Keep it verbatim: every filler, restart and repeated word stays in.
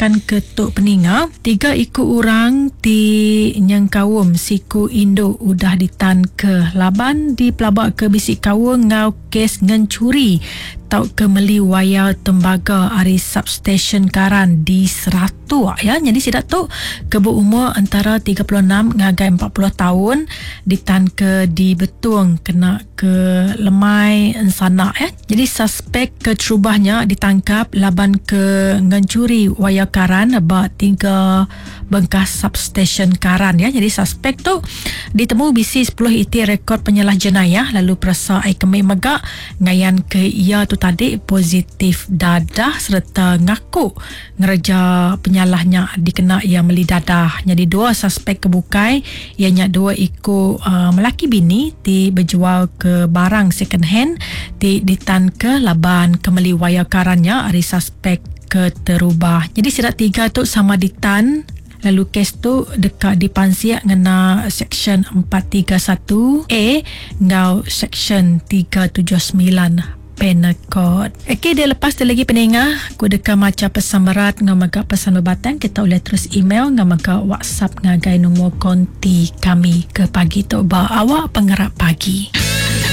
nangkan ketuk peninga, tiga iku orang ti nyengkaum siku induk udah ditan ke laban di pelabak ke bisi kaul ngau kes ngencuri tau ke meli wayar tembaga ari substation karan di Seratuk ya. Jadi sidak tu kebu umur antara tiga puluh enam ngagai empat puluh tahun ditan ke di Betung kena ke lemai ensana ya. Jadi suspek keterubahnya ditangkap laban ke ngencuri wayar karan ba tiga bengkah substation karan ya. Jadi suspek tu ditemu bisi sepuluh iti rekod penyalah jenayah lalu perasa ai kemi megak ngayan ke ia tu tadi positif dadah serta ngaku ngereja penyalahnya dikena ia meli dadah. Jadi dua suspek kebukai ianya dua iku uh, melaki bini ti berjual ke barang second hand ti ditan ke laban kemeli wayar karannya ari suspek keterubah. Jadi sidak tiga tu sama ditan. Lalu kes tu dekat dipansiak ngena Seksyen empat tiga satu A ngau Seksyen tiga tujuh sembilan Penal Code. Okey, dia lepas tu lagi peningah, ku deka maca pesan berat ngau mega pesan berbatang, kita boleh terus email ngau mega WhatsApp ngagai nombor konti kami ke pagi tu ba awak pengerak pagi.